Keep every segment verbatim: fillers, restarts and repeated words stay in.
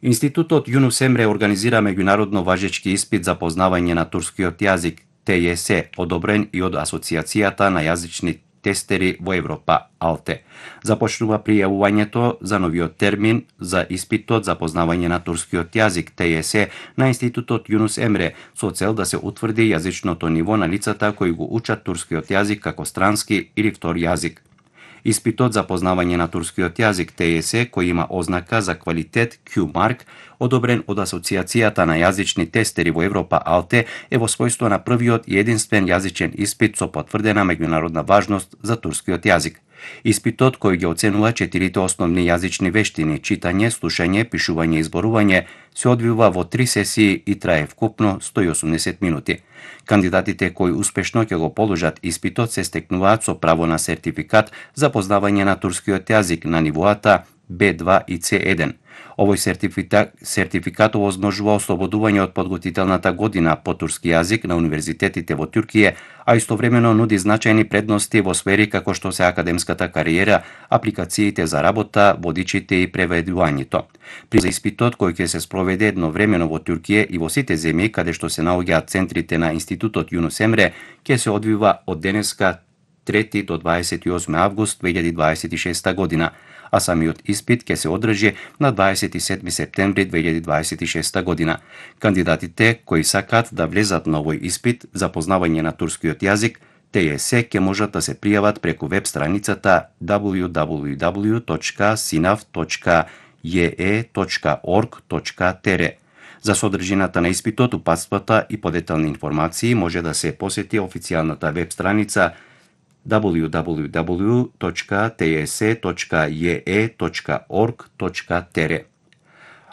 Институтот Јунус Емре организира меѓународно важечки испит за познавање на турскиот јазик Т Ј С, одобрен и од Асоциацијата на јазични тестери во Европа, АЛТЕ. Започнува пријавувањето за новиот термин за испитот за познавање на турскиот јазик Т Ј С на Институтот Јунус Емре со цел да се утврди јазичното ниво на лицата кои го учат турскиот јазик како странски или втор јазик. Испитот за познавање на турскиот јазик Т Ј С, кој има ознака за квалитет Q Mark, одобрен од Асоциацијата на јазични тестери во Европа, АЛТЕ, е во својство на првиот и единствен јазичен испит со потврдена меѓународна важност за турскиот јазик. Испитот, кој ги оценува четирите основни јазични вештини, читање, слушање, пишување и зборување, се одвива во три сесии и трае вкупно сто и осумдесет минути. Кандидатите кои успешно ќе го положат испитот се стекнуваат со право на сертификат за познавање на турскиот јазик на нивоата Б два и С еден. Овој сертификат, сертификат овозможува ослободување од подготвителната година по турски јазик на универзитетите во Туркија, а истовремено нуди значајни предности во сфери како што се академската кариера, апликациите за работа, водичите и преведувањето. При испитот кој ќе се спроведе едновремено во Туркија и во сите земји каде што се наоѓаат центрите на Институтот Јунус Емре, ќе се одвива од денеска трети до дваесет и осми август две илјади дваесет и шеста година, а самиот испит ќе се одржи на дваесет и седми септември две илјади дваесет и шеста година. Кандидатите кои сакаат да влезат на овој испит за познавање на турскиот јазик Т Ј С ќе можат да се пријават преку веб страницата дабљу дабљу дабљу точка синаф точка ј е точка орг точка т р. За содржината на испитот, упатствата и подетални информации може да се посети официјалната веб страница дабљу дабљу дабљу точка т ј с точка ј е точка орг точка т р.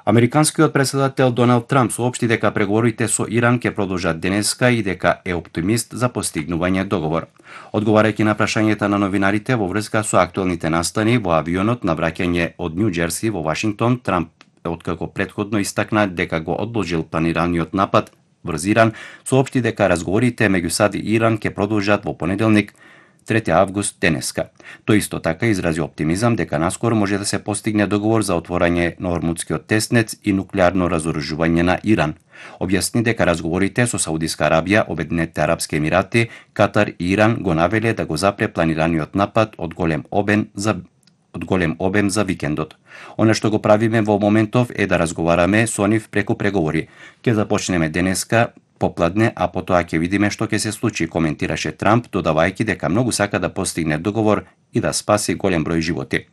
Американскиот претседател Доналд Трамп соопшти дека преговорите со Иран ќе продолжат денеска и дека е оптимист за постигнување договор. Одговарајќи на прашањата на новинарите во врска со актуелните настани во авионот на враќање од Њу Џерси во Вашингтон, Трамп откако претходно истакна дека го одложил планираниот напад врз Иран, соопшти дека разговорите меѓу САД и Иран ќе продолжат во понеделник трети август денеска. Тој исто така изрази оптимизам дека наскоро може да се постигне договор за отворање на Ормудскиот теснец и нуклеарно разоружување на Иран. Објасни дека разговорите со Саудиска Арабија, Обединетите арапски емирати, Катар и Иран го навеле да го запре планираниот напад од голем обем за од голем обем за викендот. Она што го правиме во моментов е да разговараме со нив преку преговори. Ќе започнеме денеска попладне, а потоа ќе видиме што ќе се случи, коментираше Трамп, додавајќи дека многу сака да постигне договор и да спаси голем број животи.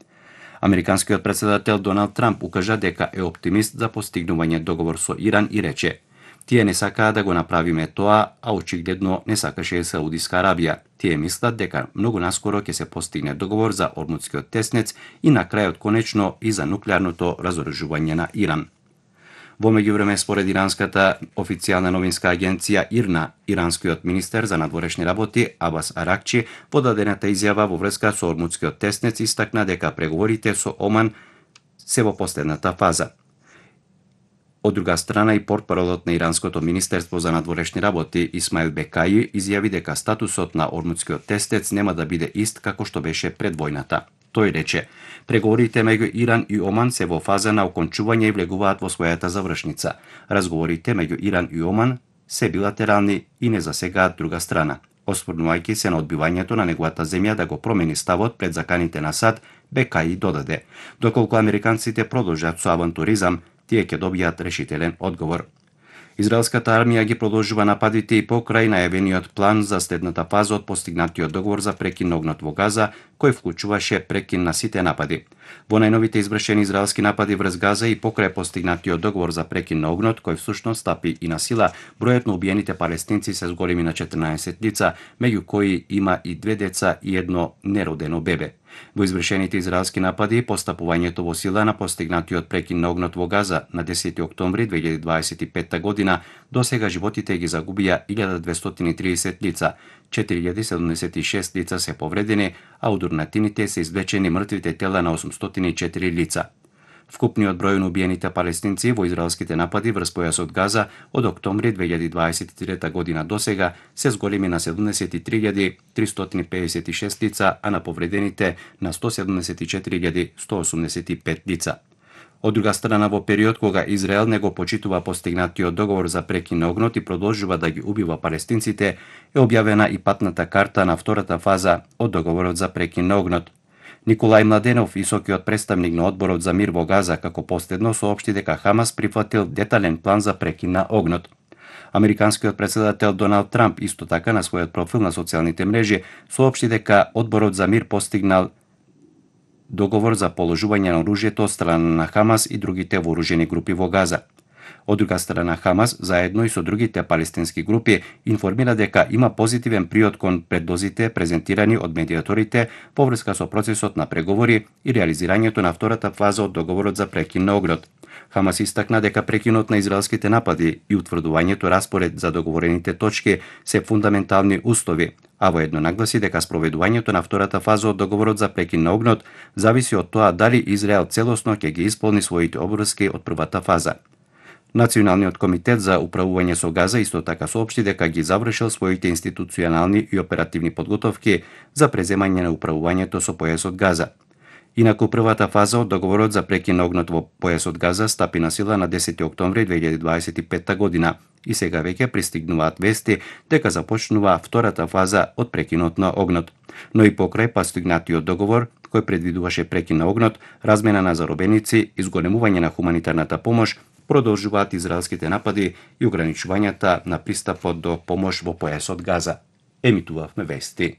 Американскиот претседател Доналд Трамп укажа дека е оптимист за постигнување договор со Иран и рече: "Тие не сакаа да го направиме тоа, а очигледно не сакаше Саудиска Арабија. Тие мислат дека многу наскоро ќе се постигне договор за Ормудскиот теснец и на крајот конечно и за нуклеарното разоружување на Иран." Во меѓувреме, според иранската официјална новинска агенција ИРНА, иранскиот министер за надворешни работи Абас Аракчи во дадената изјава во врска со Ормудскиот теснец истакна дека преговорите со Оман се во последната фаза. Од друга страна, и портпаролот на иранското министерство за надворешни работи Исмаил Бекаји изјави дека статусот на Ормудскиот теснец нема да биде ист како што беше пред војната. Тој рече: "Преговорите меѓу Иран и Оман се во фаза на окончување и влегуваат во својата завршница. Разговорите меѓу Иран и Оман се билатерални и не засегаат друга страна." Осврнувајќи се на одбивањето на неговата земја да го промени ставот пред заканите на САД, Бекаји додаде: "Доколку американците продолжат со авантуризам, тие ќе добијат решителен одговор." Израелската армија ги продолжува нападите и покрај најавениот план за следната фаза од постигнатиот договор за прекин на огнот во Газа, кој вклучуваше прекин на сите напади. Во најновите извршени израелски напади врз Газа и покрај постигнатиот договор за прекин на огнот, кој всушност стапи и на сила, бројот на убиените палестинци се зголеми на четрнаесет лица, меѓу кои има и две деца и едно неродено бебе. Во извршените израелски напади, постапувањето во сила на постигнатиот прекин на огнот во Газа на десети октомври две илјади дваесет и петта година, досега животите ги загубија илјада двестоти и тридесет лица, четири илјади седумдесет и шест лица се повредени, а од урнатините се извлечени мртвите тела на осумстотини и четири лица. Вкупниот број на убиените палестинци во израелските напади врз појасот Газа од октомври две илјади дваесет и трета година досега се зголеми на седумдесет и три илјади тристоти педесет и шест лица, а на повредените на сто седумдесет и четири илјади сто осумдесет и пет лица. Од друга страна, во период кога Израел не го почитува постигнатиот договор за прекин на огнот и продолжува да ги убива палестинците, е објавена и патната карта на втората фаза од договорот за прекин на огнот. Николај Младенов, високиот представник на Одборот за мир во Газа, како последно соопшти дека Хамас прифатил детален план за прекин на огнот. Американскиот председател Доналд Трамп исто така на својот профил на социјалните мрежи соопшти дека Одборот за мир постигнал договор за положување на оружјето од страна на Хамас и другите вооружени групи во Газа. Од друга страна, Хамас, заедно и со другите палестински групи, информира дека има позитивен приод кон предлозите презентирани од медиаторите по врска со процесот на преговори и реализирањето на втората фаза од договорот за прекин на огнот. Хамас истакна дека прекинот на израелските напади и утврдувањето распоред за договорените точки се фундаментални устови, а воедно нагласи дека спроведувањето на втората фаза од договорот за прекин на огнот зависи од тоа дали Израел целосно ќе ги исполни своите обврски од првата фаза. Националниот комитет за управување со Газа исто така соопшти дека ги завршил своите институционални и оперативни подготовки за преземање на управувањето со појасот Газа. Инаку првата фаза од договорот за прекин на огнот во појасот Газа стапи на сила на десети октомври две илјади дваесет и петта година и сега веќе пристигнуваат вести дека започнува втората фаза од прекинот на огнот. Но и покрај постигнатиот договор, кој предвидуваше прекин на огнот, размена на заробеници, изголемување на хуманитарната помош, продолжуваат израелските напади и ограничувањата на пристапот до помош во појасот Газа. Емитувавме вести.